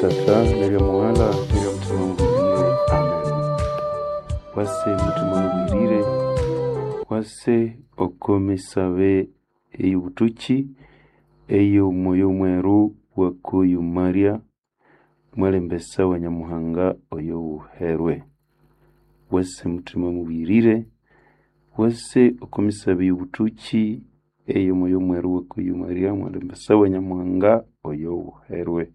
Tata nerya Mughala nerya Mutima Mubwirire. Amen. Wase Mutima Mubwirire, wase okomisabe ey'obutuki ey'omwoyo mweru wakuyu Maria mwalembesa wa Nyamuhanga oyo wuherwe. Wase Mutima Mubwirire, wase okomisabe ey'obutuki ey'omwoyo mweru wakuyu Maria mwalembesa wa Nyamuhanga oyo wuherwe.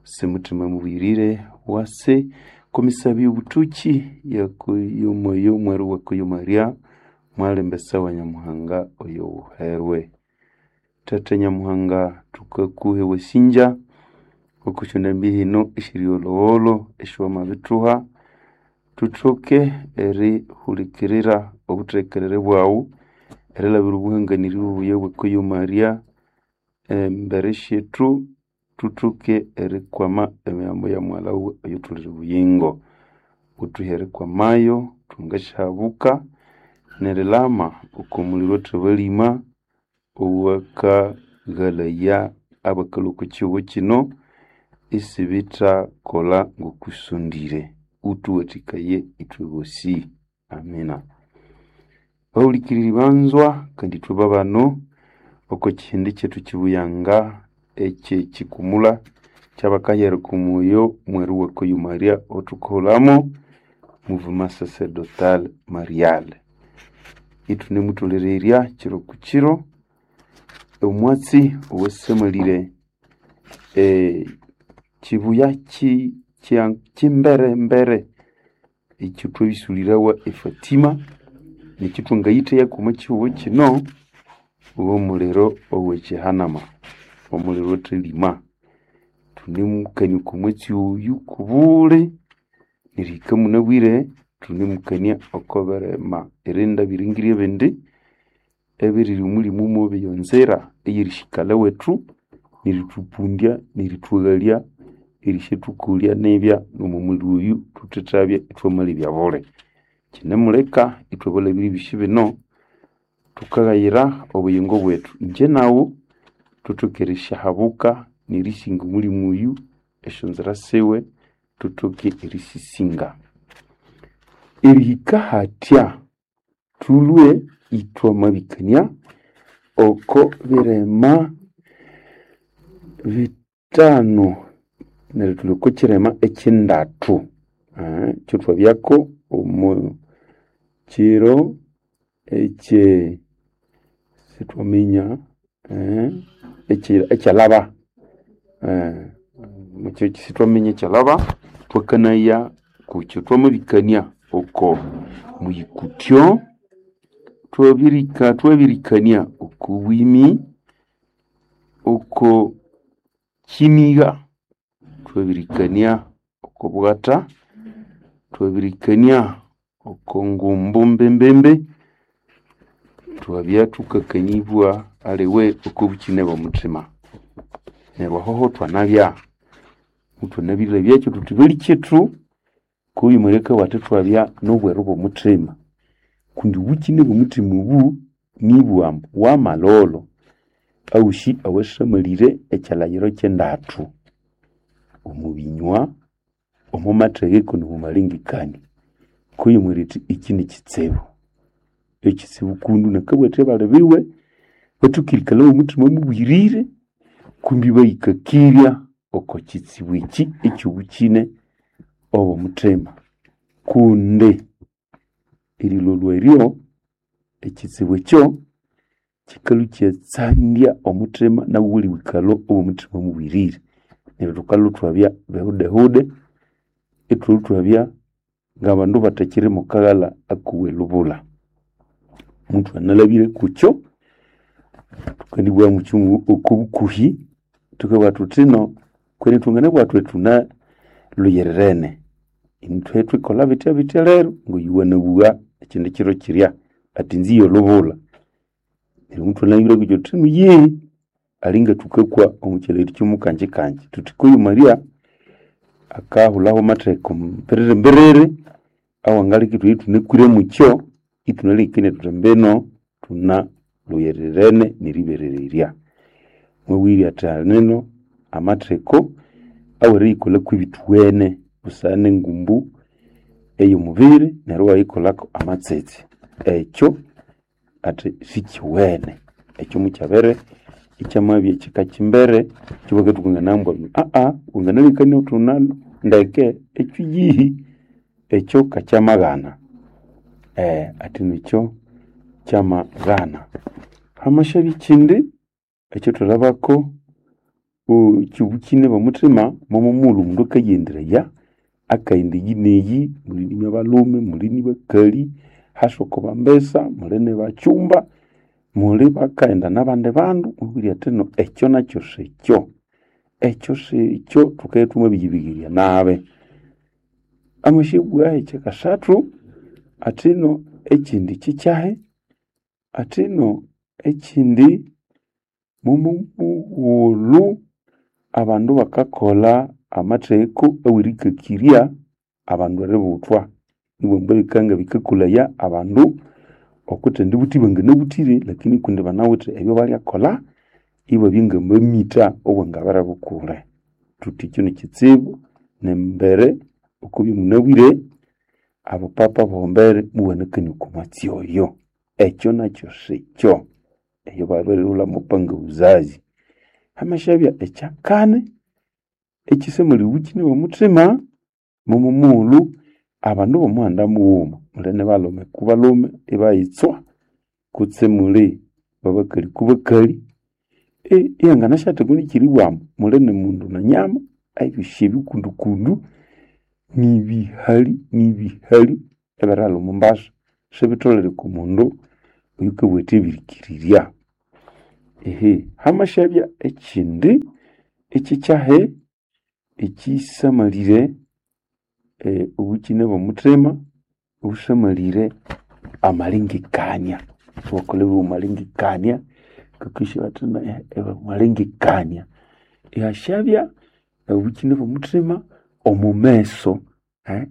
Wase Mutima Mubwirire, wase komisabe y'obutuki y'omwoyo mweru wakuyu Maria mwalembesa wa Nyamuhanga oyo wuherwe. Tata Nyamuhanga tukakuhe wasinja okusyonda mbihino esyiri olhowolo esywamabithuha thuthoke erihulikirira obuthekerere bwaghu erilabira obuhanganirye obubuya bwekuyo Maria embere syethu thuthoke erikwama emihambo ya mughalha wiwe oyuthulire obuyingo. Wuthuhe erikwamayo thwangasyahabuka nerilama oko muliro othabalima owakaghalaya abakalhwa oko kihugho kino isibithakolha ngokusondire. Uthuwathikaye ithwe bosi. Amina. Bahulikiriri banzwa kandi ithwe babano oko kihindi kyethu kibuyanga ekyekikumula kyabakahera oko mwoyo mweru wakuyu Maria othukaghulhamo Mouvement Sacerdotal Marial. Ithunemutholererya kiro ku kiro omwatsi owasamalire kibuya kimbere mbere ekyothwabisulirawa efatima nekithwangayitheyaku omo kihugho kino w'omuliro ow'ekihanama omuliro othalima. Thunemukania oko mwatsi oyu kubuli nerihika munabwire thunemukania oko birima erinda ebiringiri ebindi ebiriri omulimu mubi eyonzira ey'erisikala wethu nerithupundya nerithwaghalya erisyathũkolya nibya n'omo muliro oyu thuthethabya ithwamalebya buli. Kinemuleka ithwe abalhabire ebyosi bino thukaghayira obuyingo bwethu. Ingye naghu thuthoke erisyahabuka nerisinga omulimu oyu esyonzira siwe thuthoke erisisinga. Erihika hathya thulhwe ithwamabikania oko birima bithanu neryo thulhi oko kirima ekyindathu ekyathwabyako omo kiro ekye sithwaminya ekyalhaba sithwaminya ekyalhaba thwakanaya kukyo thwamabikania oko muyikutyo thwabirikania oko bwimi oko kinigha thwabirikania oko bwatha thwabirikania oko ngumbu mbembembe thwabya thukakanibwa aliwe oko bukine bw'omuthima. Neryo ahoho thwanabya muthwanabirilabyakyo thuthi balikyethu kuyu Maria akabugha athi thwabya n'obweru bw'omuthima kundi obukine bw'omuthima obu nibugha ambu wamalholho awosi awasamalire ekyilhaghiro ky'endathu omo binywa, omo mathegeko n'omo malengekania. Kuyu Maria athi ekyi nikitsibu, ekitsibu kundu nakabugha athi abali biwe bathoke erikalha b'omuthima mubwirire kumbi bayikakirya oko kitsibu eki eky'obukine obw'omuthima. Kundi erilholwa eryo ekitsibu ekyo kikalhwa ikyatsandya omuthima nawu ghuli bwikalho obw'omuthima mubwirire. Neryo thukalhwa ithwabya bihudehude ithwalhwa ithwabya ng'abandu abathakiri mo kaghalha akowelubulha. Muthwanalhabire kukyo thukandibugha mukyunguu oko bukuhi thukabugha thuthi ino kwenene thwanganabugha thuthi thunalhuyirirene ithwe thwikolha bitya bitya lero ngoyu wanabugha ekindi kiro kirya athi inzi yolubulha. Neryo muthwanalhabire kukyo thuthi yeee alinga thukakwa omo kyilhaghiro ky'omukanjikanji thuthi kuyu Maria akahulhaho amatheko mbiriri mbiriri awangaleka ithwabya ithunakwire mukyo ithunalengekania thuthi mbino thunalhuyirirene neriberererya. Mwabughe athi alinino amatheko aweriyikolha kw'ebithuwene busana n'engumbu ey'omubiri neryo iwayikolhako amatsetse. Ekyo athi sikiwene. Ekyo mukyabere ikyamabya kyikakimbere kyibakathukanganaya ambu wanganalengekania wuthi wuna ndeke ekyiyihi ekyo kakyamaghana. Athi nikyo kyamaghana. Hamasyabya ekyindi ekyathwalhabako kyobukine bw'omuthima, momo mughulhu omundu akayighenderaya akaghenda eyi neyi, muli ni balhume, muli ni bakali, hasa oko bambesa, muli ni bakyumba, muli bakaghenda n'abandi bandu, mubabwira athi no ekyo nakyo sikyo. Ekyo sikyo thukabya ithwamabiyibigherya nabi. Amasyabugha ekyakasathu athino ekyindi kyikyahi, athino ekyindi momo mughulhu abandu bakakolha amatheko awerikakirya abandu eributhwa. Ibabugha ambu bikabya bikakolhaya abandu okwithendibutha ibanganabuthire lakini kundi banawithe ebyabalyakolha ibabya ngamamitha obwangabere bukule. Thuthi ekyo nikyitsibu nembere okubya munabwire abapapa abombere mubanakania okwa mwatsi oyo. Ekyo nakyo sikyo. Eyo babirilhulha mupanga uzazi. Hamasyabya ekyakani ekyisamalira obukine bw'omuthima, momo mughulhu abandu b'omuhanda mughuma muli ni balhume ku balhume ibayitswa kutse muli babakali ku bakali, ihanganasyatheka nikyeribugha ambu muli ni mundu na nyama, ebyosi ebi kundukundu nibihali nibihali ebirilha omo mbasa sibitholere oko mundu oyukabugha athi abirikirirya. Hamasyabya ekyindi ekyikyahi ekyisamalire obukine bw'omuthima, obusamalire amalengekania. Iwakolha amalengekania ngakesya bathi amalengekania. Ihasyabya obukine bw'omuthima omu meso,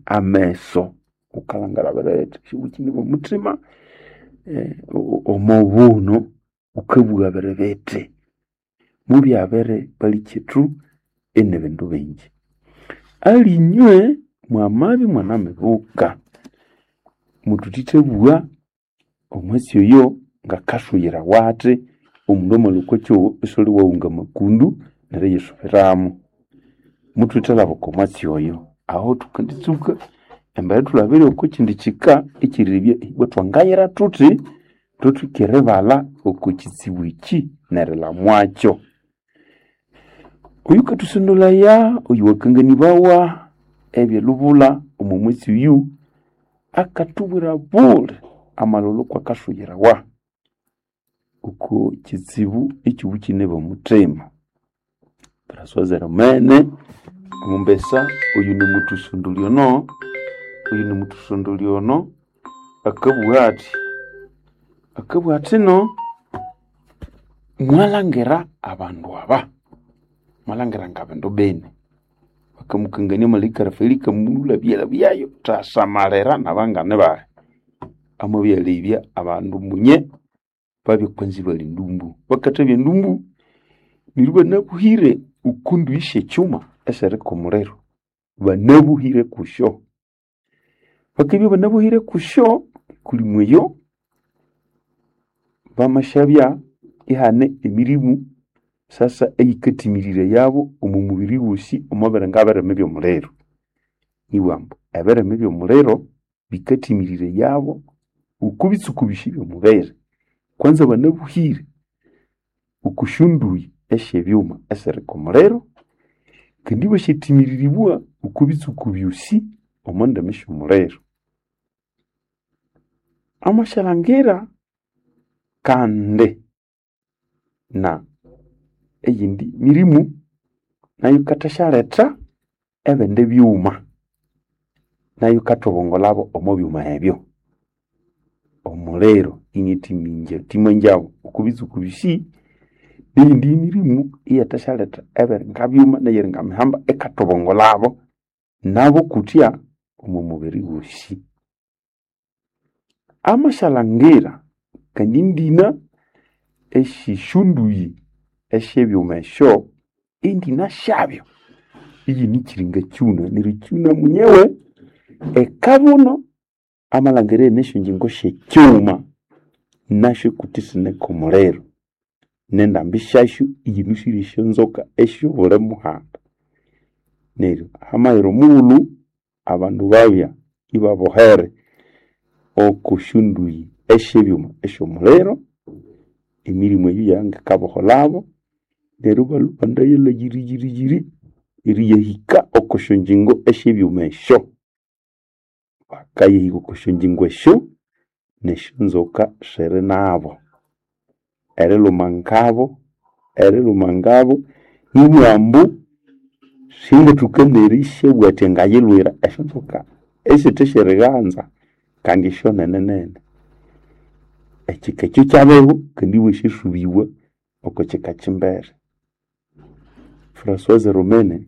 ameso wukalhangira birebethe obukine bw'omuthima omo buno wukabugha biribiti. Mubyabere balikyetu ini bindu bingi. Alinywe mwamabya imwanamibuka muthithithabugha omwatsi oyo ngakasuyirawa athi omundu amalhwa okwa kyogho isiwuli waghunga amakundu neriyisubiramu. Muthwithalhaba okwa mwatsi oyo. Aho thukenditsuka embere ithulabire okwa kyindi kyika ekyerilebya ibwa thwangayira thuthi thuthuke eribalha okwa kyitsibu ekyi nerilamwakyo. Oyukathusondolhaya oyuwakanganibawa ebyelubulha omo mwatsi oyu akathubwira buli amalholo kwakasuyirawa oko kyitsibu ekyobukine bw'omuthima. François Hermene omumbesa oyu nimuthusondolya ono, oyu nimuthusondolya ono akabugha athi, akabugha athino mwalhangira abandu aba, mwalhangira ngabindu bini. Bakamukangania malaika Rafaeli akamulhabyalhabyayo thasamalira nabangani bayi. Amabyalebya abandu munye babya kwanza ibali ndumbu. Bakathabya ndumbu neryo ibanabuhire oko nduyi syekyuma esiriko omuliro. Banabuhire kusyo. Bakabya banabuhire kusyo kuli mweyo bamasyabya ihane emirimu sasa eyikatimirirayabo omo mubiri wosi omo biringa birime by'omuliro. Nibugha ambu ebirime by'omuliro bikatimirirayabo oko bitsuku byosi eby'omubiri. Kwanza banabuhire oko syonduyi esyebyuma esiriko omuliro kandi ibasyathimiriribwa oko bitsuku byosi omo ndimi sy'omuliro. Amasyalhangira kandi na eyindi mirimu nayo yikathasyalhetha ebindi byuma nayo yikathobongolhabo omo byuma ebyo. Omuliro iniathimangyabo oko bitsuku byosi neyindi mirimu iyathasyaletha ebiringa byuma neyiringa mihamba ikathobongolhabo nabo kuthya omo mubiri wosi. Amasyalhangira kandi endina esyesyonduyi esyebyuma esyo, endina syabyo Iyinikiringa kyuna neryo kyuna munyewe ekabuno amalhangira nesyo ngyingo syekyuma nasyo kuti sineka omuliro nendambi syasyo iyinusire esyonzoka esyobuli muhanda. Neryo hamayira omughulhu abandu babya ibabohere oko syonduyi esyebyuma esyomuliro, emirimu eyo yangikaboholabo neryo ibalhwa ibandayalha yiri yiri yiri eriyahika oko syongyingo esyebyuma esyo. Bakayahika oko syongyingo esyo nesyonzoka siri nabo erilhuma ngabo nibugha ambu singathoka nerisyabugha athi ngayilhwira esyonzoka esithe syerighanza kandi esyonene nene. Ekika ekyo kyabeho kandi ibwasyasubibwa oko kika kyimbere. Françoise Romene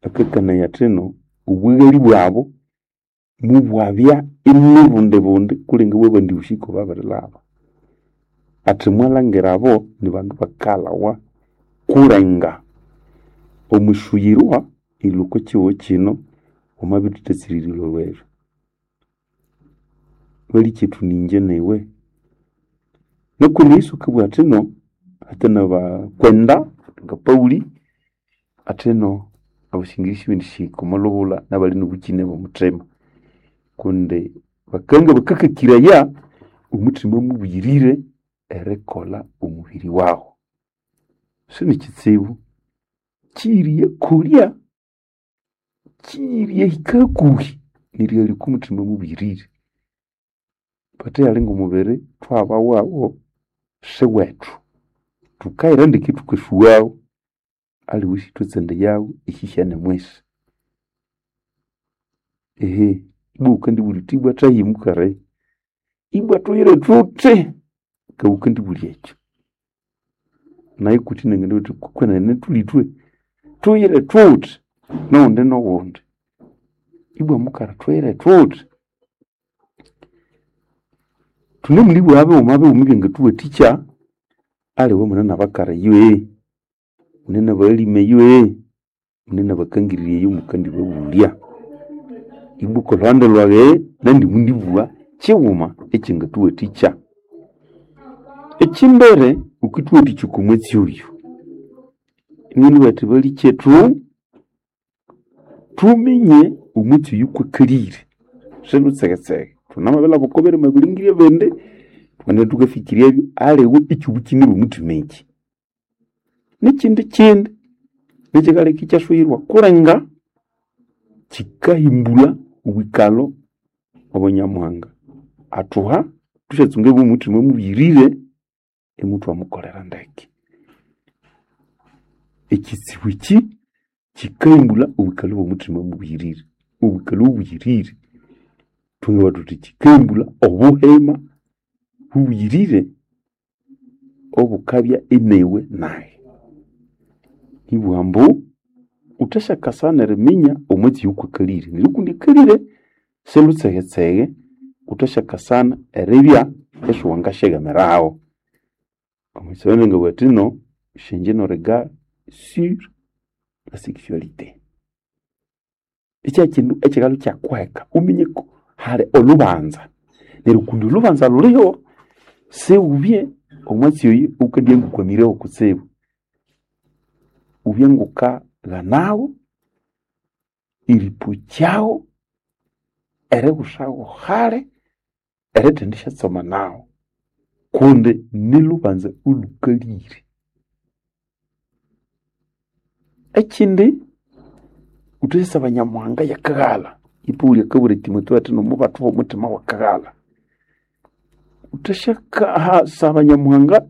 akakanaya athino obughalĩ bwabu mubwabya inibundi bundi kulenga obwabandi bushiko babirilhaba. Athi mwalhangira abo nibandu bakalhawa kulenga omwisuyirwa erilhwa oko kihugho kino wamabithuthatsira erilolho eryo. Balikethu ningye niwe. Nuku Yesu akabugha athino hathe nabakwenda nga Pauli athino abasingiri sibendisihika omo lhubulha nabali nobukyine bw'omuthima kundi bakanga bakakakiraya omuthima mubuyirire erikolha omubiri wawu. Sinikitsibu kyiriyakolya, kyiriyahika hakuhi nerighalya oko muthima mubuyirire. Pathiyali ng'omubiri thwabawawo siwethu. Thukayira ndeke thukasughawo aliwe isithwatsandayawo ehihyane mwisi. Ehe ibwa wukandibulya wuthi ibwa thahi mukali, ibwa thuyire thuthi ngawukandibulya ekyo. Nayi kuti nanganabuwa nyithi kwenene thulithwe thuyire thuthi noghundi noghundi. Ibwa mukali thuyire thuthi. Thunemulibugha bighuma bighuma ebyangathuwathikya aliwe mune nabakali eyo, mune nabaghalimu eyo, mune nabakangirirya eyo mukandibabulya. Ibwa okolhuhandi lwayi nandi mundibugha kyighuma ekyangathuwathikya. Ekyimbere wukithuwathikya oko mwatsi oyu, inganibugha athi balikyethu thuminye omwatsi oyu kwakalire silhutsegetsege. Thunamabirilhaba oko birima ebilingiri ebindi thukagenda thukafikiryabyo aliwe ekyobukyine bw'omuthima ekyi. Nekyindi kyindi nekyikaleka ikyasuyirwa kulenga kyikahimbulha obwikalho obwa Nyamuhanga athuha thusyatsunga bw'omuthima mubuyirire imuthwamukolera ndeke. Ekyitsibu ekyi kyikahimbulha obwikalho bw'omuthima mubuyirire. Obwikalho obubuyirire thungabugha thuthi kyikahimbulha obuhima bubuyirire obukabya iniwe nayi. Nibugha ambu wuthasyakasana eriminya omwatsi oyu kwakalire neryo kundi akalire silhutsegetsege wuthasyakasana eribya isiwangasyeghamiraho. Omwisomero ngabugha athino changer nos regards sur la sexualité. Ikyakyindu ekyikalhwa ikyakuheka wuminye ku hali olhubanza neryo kundi olhubanza lhuliho siwubye omwatsi oyu wukandibya ngukwamireho kutsibu. Wubye ngukaghanawo eripokyawo eribusagho hali erithendisyatsomanawo kundi nilhubanza olhukalire. Ekindi wuthasyasaba Nyamuhanga yakaghalha. Epaulo akabwira Timoteo athi nomubathuha omuthima wakaghalha. Wuthasyasaba Nyamuhanga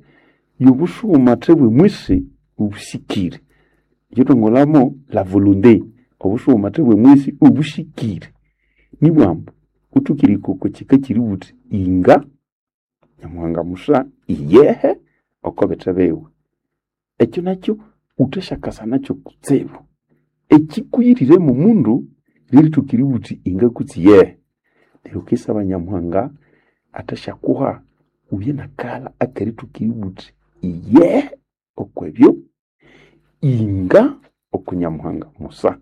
y'obusughumathe bw'emwisi obusikire. Ekyathwangolhamo la volonté, obusughumathe bw'emwisi obusikire. Nibugha ambu wuthoke erihika oko kika kyeribugha wuthi inga Nyamuhanga musa iyehe oko bithe biwe. Ekyo nakyo wuthasyakasa nakyo kutsibu. Ekyikuyirire omundu lyerithoka eribugha wuthi inga kutse iyehe. Neryo wukisaba Nyamuhanga athasyakuha wubye nakaghalha akerithoka eribugha wuthi iyehe okwebyo inga oku Nyamuhanga musa.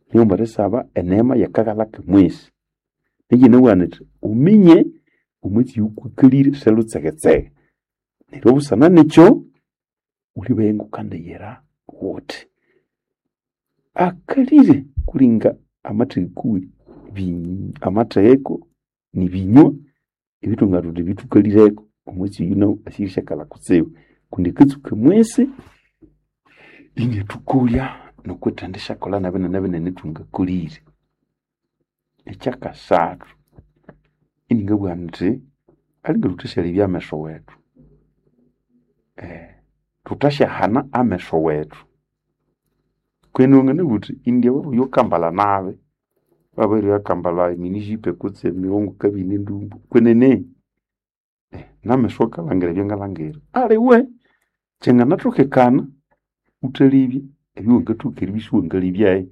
Nighuma erisaba eneema y'akaghalha k'omwesi. Nekyinabugha nyithi wuminye omwatsi oyukwikalire sialhutsegetsege. Neryo busana nekyo wulibaya ngukandiyira wuthi. Akalire kulinga amatheko amatheko nibinywa ebithunga thuthi bithukalireko omwatsi oyu nawu asirisyakala kutsibu kundi akatsuka mwesi iniathukolya nokwithendisyakolha nebinene binene thwangakolire. Ekyakasathu iningabugha nyithi alinga thuthasyalyebya ameso wethu, thuthasyahana ameso wethu. Kwenene wanganabugha wuthi indi oyu akambalha nabi wabiribya akambalha emini jupe kutse emighongo kabini endumbu kwenene nameso akalhangira ebyangalhangira aliwe kyanganathokekana wuthalebye ebyowangathoka eribya isiwangalebyayo.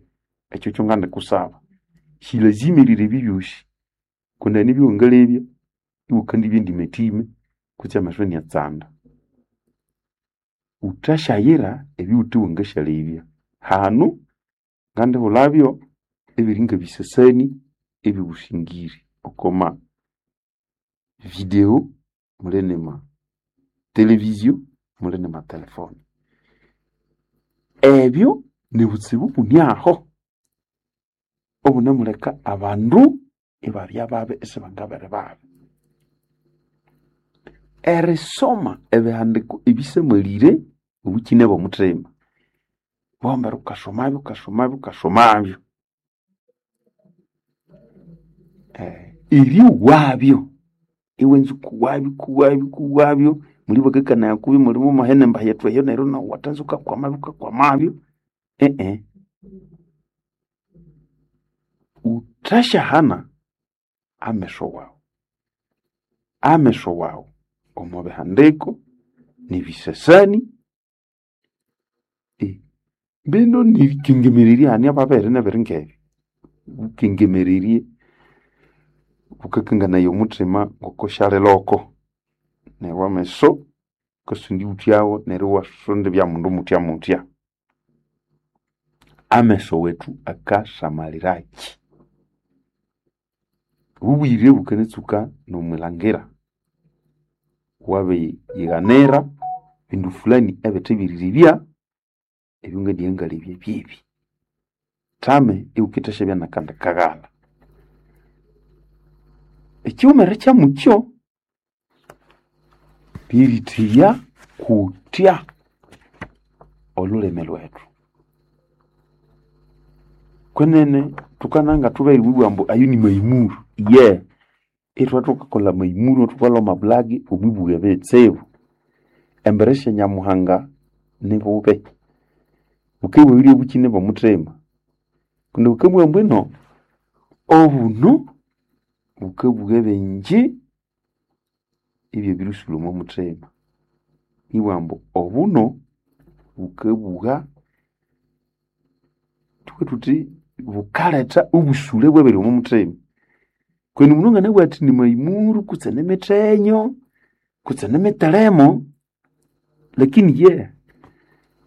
Ekyo kyo ngandikusaba. Silazima erilebya ebyosi kundi hane ebyowangalebya iwakandibya endimathima kutse ameso iniatsanda. Wuthasyayira ebiwuthe wangasyalebya. Hanu ngandihulhabyo ebiri ngebisasani ebyobusingiri okwa video muli nema televizio muli nema telefone. Ebyo nibutsibu buni aho obunemuleka abandu ibabya babi isibangabere babi. Erisoma ebihandiko ebisamalire obukyine bw'omuthima, wambere wukasomabyo wukasomabyo wukasomabyo. Eryoghabyo iwanza wukuwabyo wukuwabyo wukuwabyo muli bakakanaya kubyo muli mwamahene embahi yethu eyo neryo nawu wathanza wukakwamabyo wukakwamabyo Wuthasyahana ameso wawu, ameso wawu omo bihandiko nebisasani mbino nerikengemererya hane ababere nebiri ngebyo. Wukengemererye wukakanganaya omuthima ngokosyaliloko neryo ameso wukasonda iwuthyawo neryo iwasonda ibya mundu muthya muthya. Ameso wethu akasamaliraki? Obubuyirire bukanatsuka nomwilhangira wabiyighanira bindu fulani ebithe byerilebya ebyongandigha ngalebya byebi. Thame iwukithasyabya nakandi kaghalha. Ekyighumere kyamukyo lyeritheya kutya olhulimi lwethu. Kwenene thukananga thubeghere eribugha ambu ayo ni mayimuru, iye ithwe thukakolha amayimuru ithukalhwa omwa bulagi omwibugha ebitsibu. Embere sya Nyamuhanga nibubi. Bukabughabya obukyine bw'omuthima kundi bukabugha ambu ino obuno bukabugha ebingi ebyabirisulha omwa muthima. Ibugha ambu obuno bukabugha thubughe thuthi bukaletha obusule bwebiri omwa muthima. Kwenene omundu anganabugha athi ni mayimuru kutse nimithenyo kutse nimithelemo lakini ye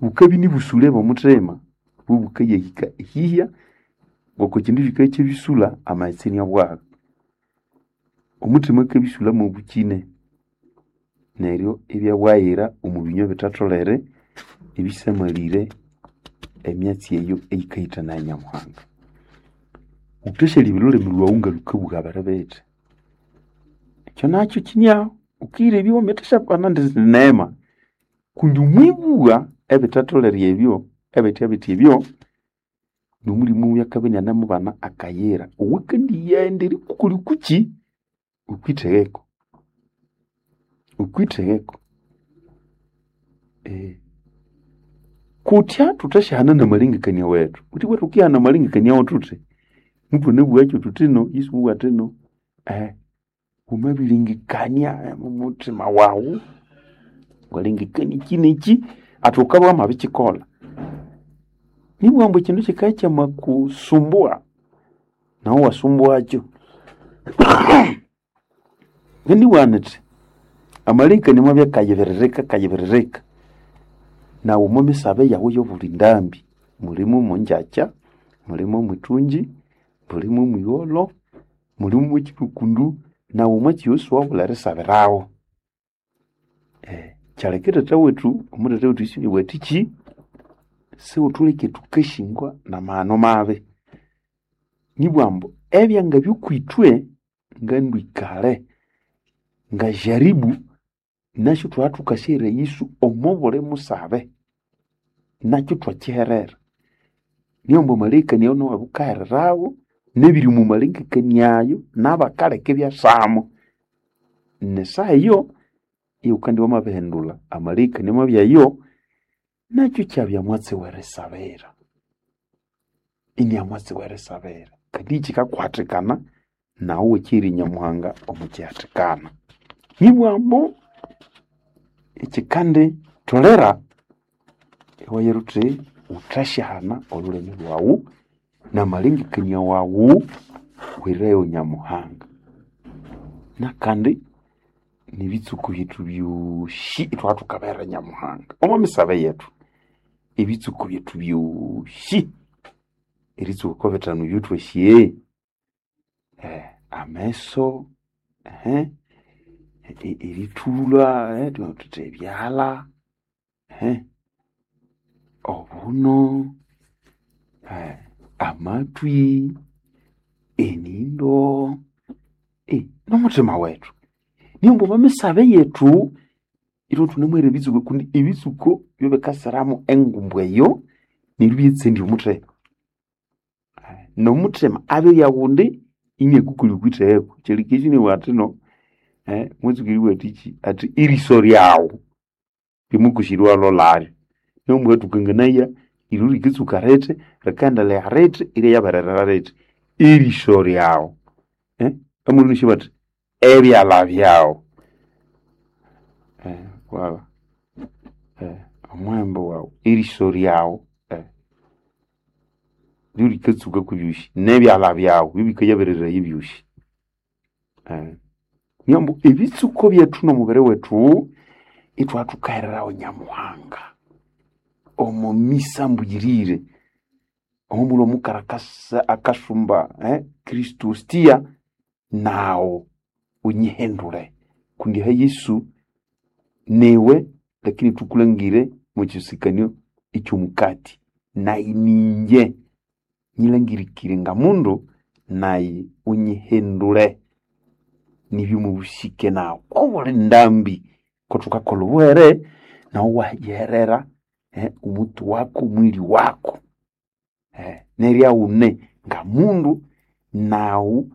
bukabya nibusule bw'omuthima bobukayahika ehihya ngoko ekyindu kikabya kyabisulha amaghetse iniabwagha. Omuthima akabisulha mwobukyine neryo ibyabwaghira omu binywa ebithatholere ebisamalire emyatsi eyo eyikahithanaya Nyamuhanga. Wuthasyalebya olhulimi lhwawu ngalhukabugha biri bithi. Ekyo nakyo kyinyaho wukiyilebya wamathasyabana indi neema kundi omwibugha ebithatholere ebyo ebithya bithi ebyo nomulimo oyo akabya inianemubana akayira owakandiyaghenda erikukolha okukyi okwithegeko, okwithegeko. Kutya thuthasyahana namalengekania wethu, wuthi ibwa thukihana amalengekania wethu thuthi muthwanabugha thuthi ino Yesu mubugha athi ino wamabilengekania omo muthima wawu walengekania ekyi nekyi athi wukabya wamabikyikolha. Nibugha ambu ekyindu kyikabya kyamakusumbua nawu iwasumbuakyo. Ngendibugha nyithi amalengekania amabya akayibiririka akayibiririka nawu omwa misabe yawu eyobuli ndambi Mulimo omongyakya, mulimo omwithungyi, mulimo omwigholho, mulimo omwekyirukundu, nawu omwatsi oyo siwabulha erisabirawo. Kyaleka tata wethu, omutata wethu Yesu inabugha athikyi, sighutholeke thukashingwa n'amaghano mabi. Nibugha ambu ebyangabya okwithwe ngandwikale ngajaribu nasyo thwabya thukasyaghira Yesu omo buli musabe, nakyo ithwakyiherera. Niyo ambu amalengekania ayo nawu wukahererawo, n'ebiri omu malengekania ayo n'abakaleka ibyasamo. N'esaha eyo iwukandibya wamabihindulha amalengekania amabya ayo, nakyo ikyabya mwatsi w'erisabira. Inibya mwatsi w'erisabira kandi kyikakuhathikana nawu iwakyihira Nyamuhanga omu kyihathikana. Nibugha ambu ekyikandi tholera iwayira wuthi wuthasyahana olhulimi lhwawu n'amalengekania wawu wihirayo Nyamuhanga. Nakandi n'ebitsuku byethu byosi ithwabya thukabihera Nyamuhanga omo misabe yethu. Ebitsuku byethu byosi eritsuka oko bithanu ebyothwasi, ameso, erithulha, thuthi ebyalha, obuno, amathwi, enindo, n'omuthima wethu. Niyo ambu omo misabe yethu ithwe thunemuhera ebitsuko kundi ebitsuko byobikasiramu engumbu eyo neryo ibyetsandya omuthima. N'omuthima abirya ghundi iniakukolya okwithegho. Kyaleka Yesu inabugha athi no, mwatsuka eribugha athikyi, athi eriso lyawu lyamakusira iwalholalyo. Neryo mukathukanganaya iryo rikatsuka rithi, rikaendelea rithi, iryayabererera rithi. Eriso lyawu amulhunisya bathi ebyalha byawu, wala omuhembe wawu, eriso lyawu ryo rikatsuka kwebyosi n'ebyalha byawu byobikayabereraya ebyosi. Niyo ambu ebitsuko byethu n'omubiri wethu ithwabya thukahererawo Nyamuhanga omo misa mbuyirire, omo mughulhu omukara akasumba Kristo hostia, nawu wunyihindule kundi aha Yesu niwe lakini thukulangire omo kyisikanio eky'omukati, nayi ningye nyilangirikire nga mundu nayi wunyihindule nibya omo busike nawu obuli ndambi kothukakolha obuhere nawu iwayiherera omuti waku omwiri waku. Neryo aghune nga mundu nawu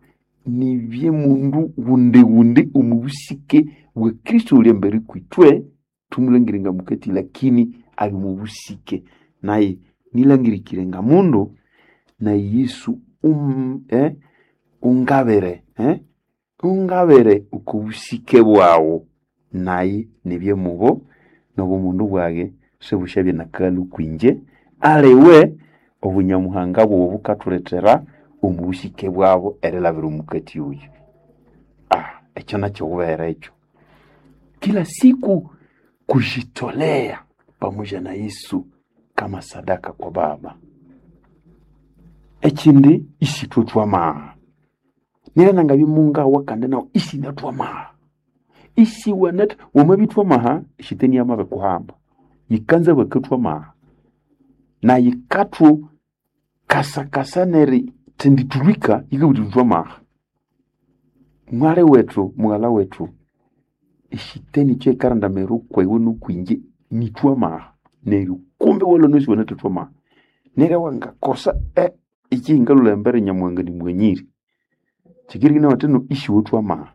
nibye mundu ghundi ghundi omo busike bwa Kristo oyuli embere kwithwe thumulangire nga mukati lakini ali omo busike naye nilangirikire nga mundu naye Yesu ungabire ungabire oko busike bwawu naye nibye mubo n'obumundu bwage sibusyabya nakalhu kwinje aliwe obunyamuhanga bughu bukathulethera omu busike bwabo erilabira omukati oyu. Ekyo nakyo wubere ekyo. Kila siku kujitolea pamoja na Yesu kama sadaka kwa Baba. Ekindi isithwe thwamaha. Nera nangabya mungawa kandi nawu isinathwamaha. Isiwanatha wamabithwamaha shetani yamabikuhamba. Yikanza bakathwamaha. Na yikathu kasakasa neri thendithulhika yikabugha yithi thwamaha. Mwali wethu, mughalha wethu, eshetani ekyo yikarandamira okwiwe n'okwinje nithwamaha neryo kumbe iwalhwa inasiwanathathwamaha. Neryo wangakosa ekyihingalhulha embere Nyamuhanga nimuganyire. Kyikirikina bathi no isiwethwamaha.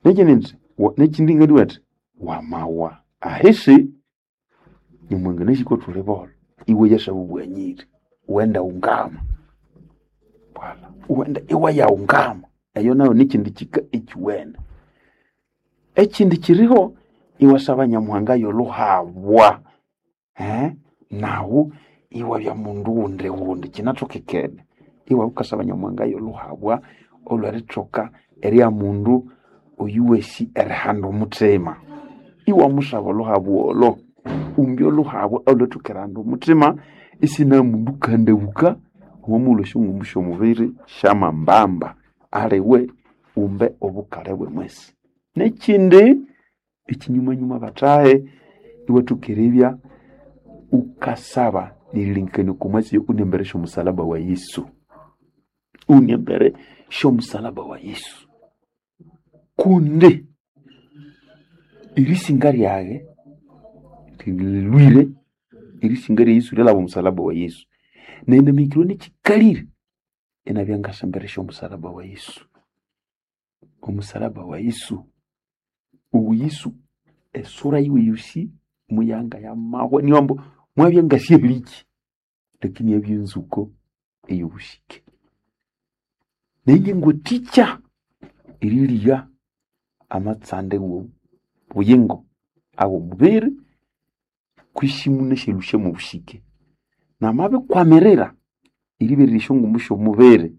Nekyindi indi nekyindi ngabugha athi wamawa ahisi Nyamuhanga anasi kwathuli bolho iwe yasaba obughanyiri iwaghenda ungama. Bwalha iwaghenda iwayaungama eyo nayo nikyindi kyika ekyuwene. Ekyindi kyiriho iwasaba Nyamuhanga y'olhuhabwa nawu iwabya mundu ghundi ghundi kyinathokekene. Iwabya wukasaba Nyamuhanga y'olhuhabwa olhw'erithoka erya mundu oyuwasi erihanda omuthima. Iwamusaba olhuhabwa olho, umbi olhuhabwa olhwethoka erihanda omuthima Isina mundu kandabuka omo shongumbu shomubiri shamambamba aliwe umbe obukale bwe mwesi. Nekindi ekinyumanyuma batahe iwathukererya ukasaba nerilengekanio komwatsi unembere shomusalaba wa Yesu. Unembere shomusalaba wa Yesu. Kundi erisinga lyaghe lilwire erisinga lya Yesu lyalaba omusalaba wa Yesu. Nenamikirwe nekikalire enabya ngasembere shomusalaba wa Yesu. Omusalaba wa Yesu. Ubu Yesu esura yiwe yosi muyanga ya mahwe niwambo mwabya ngasyehliki lakini yabya enzuko eyobushike. Neye ngwaticha eriliya amatsande wo buyingo awo mubiri kwishimu neshelusha mu bushike namabikwamirira eriberera shongumbu shomubiri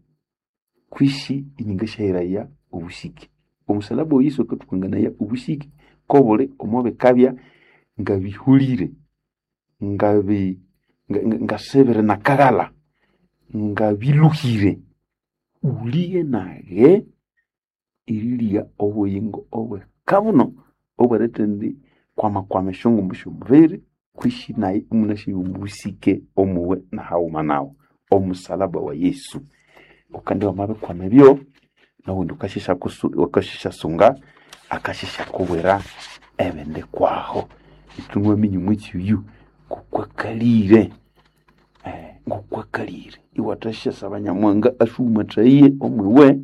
kwishi inyinga shahiraya obushike. Omusalaba wa Yesu akathukanganaya obushike kobuli omwabikabya ngabihulire ngasebere nakaghala ngabiluhire uliye nage eriliya obuyingo obwekabuno obweritendi kwamakwama eshongumbu shomubiri kwishi naye imunashiya omubusike omuwe nahaghuma nawu omusalaba wa Yesu. Ukandi wamabikwama ebyo nowundi ukashishasunga akashishakubwira ebindi kwaho. Ithwe mwitsi oyu ngokwakalire ngokwakalire iwathashyasaba Nyamuhanga ashumathaye omwiwe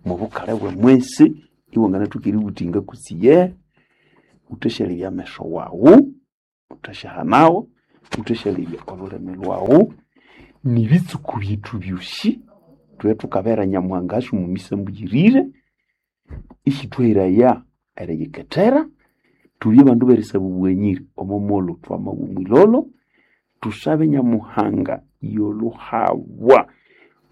mubukale bwe mwesi iwanganathoka eributinga kutsi ye uthasyalebya ameso wawu uthasyahanawo uthasyalebya olhulimi lwawu nibitsuku byethu byosi thwe thukabera Nyamuhanga asumumisa mbuyirire isithwahiraya eriyikethera tubye bandu berisaba obughanyiri omo molho twamabwa omwilholo tusabe Nyamuhanga yolhuhabwa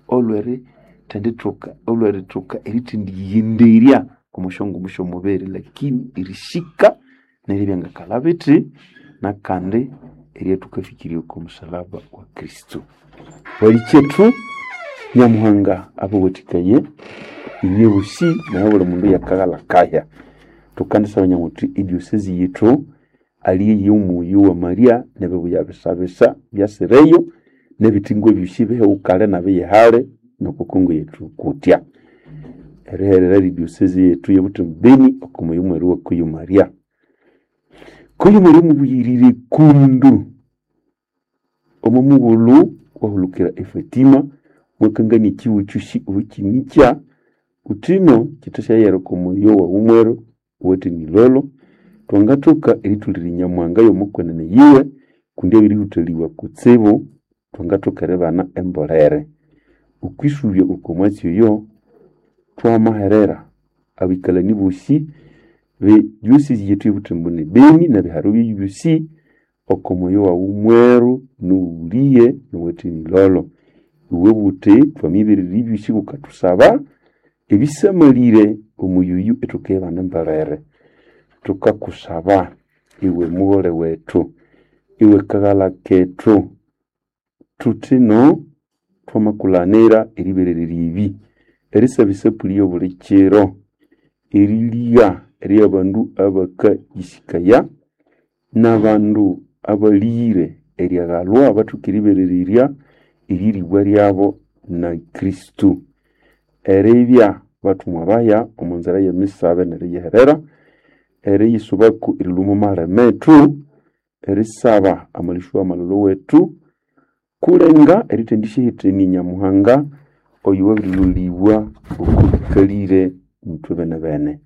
olwerithendithoka olwerithoka erithendiyighenderya omo syongumbu syomubiri lakini erishika neribya ngakalha bithi nakandi eryathukafikirya oko musalaba wa Kristo. Walikyetu Nyamuhanga abawathikaye inywe bosi naye buli mundu yakaghalha kahya. Thukandisaba nyamuthi ediosese yethu aliye omuyi wa Maria nebibuya bisabisa byasireyo nebithingwa byosi bihewukale nabiyihale noko Kongo yethu kutya. Eriherera ediosese yethu ye Butembo Beni oko muyi mweru wa Kuyu Maria. Kuyu Maria mubuyirire kundu omo mughulhu wahulukira eFatima mwakangania ekihugo kyosi obukinikya uthino kithasyayera oko muyo wawu mweru owathe nilolo twangathoka erithulirya Nyamuhanga y'omukwenene yiwe kundi abirihuthalibwa kutsibu twangathoka eribana embolere. Okwisubya oko mwatsi oyo twamaherera abikalani bosi be diocese yethu ye Butembo ne Beni nebiharo byayo byosi oko muyo wawu mweru nowuliye nowathe nilolo. Iwe buthi twamibererya ebyosi bukathusaba ebisamalire omuyuyu ithukibana embolere. Thukakusaba iwe mughole wethu iwe kaghalha kethu thuthino twamakulhanira eriberererya ebi erisaba esapuli y'obuli kiro eriligha ery'abandu abakayisikaya n'abandu abalighire eryaghalwa bathoke eriberererya eriribwa lyabo na Kristo. Eribya bathumwa baya omo nzira y'emisabe neriyiherera eriyisubaku erilhwa omo maleme ethu erisaba amalisyo w'amalholo wethu kulenga erithendisyahithania Nyamuhanga oyo wabirilholibwa oko bikalire ithwe benebene.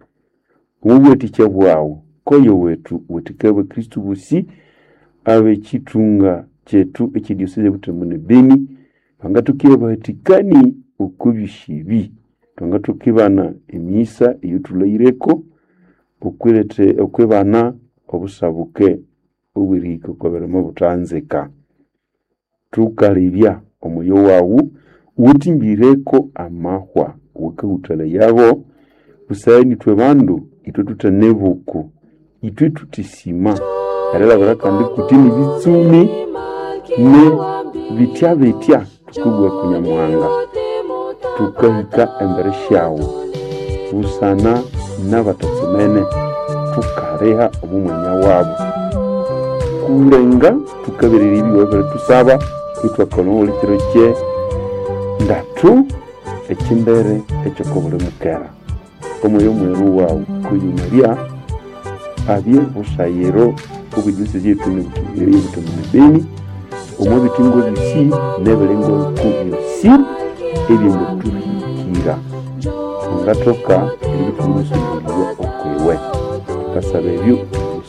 Omubuwathikya bwaghu koyo wethu wathikaya abakristo bosi ab'ekithunga kyethu eky'ediocese ye Butembo ne Beni bangathoka abahathikani oko byosi ebi. Thwangathoka ibana emisa eyothulhaghireko okwibana obusabuke obwerihika oko birimo buthanzika. Thukalebya omuyo waghu owathimbireko amahwa owakahuthalayagho busana ithwe bandu ithwe thuthane buku ithwe thuthisima erilabira kandi kuti nibitsumi Ne bitya bitya tukabugha ku Nyamuhanga, tukahika embere syawu busana n'abatatsimene, tukaliha omo mwanya wabo. Kulenga tukabererya ebyuwa ebiritusaba, ithwakolha omuli kiro kye ndatu ekimbere ekyokobuli mukera. Omwoyo mweru wawu kuyumalya abye busayiro obw'ediocese yethu y'eButembo ne Beni, omo bitingo byosi n'ebiringo biku byosi ebyangatuhikira. Thwangathoka eribithumusumbuliwa okwiwe. Thukasaba ebyo.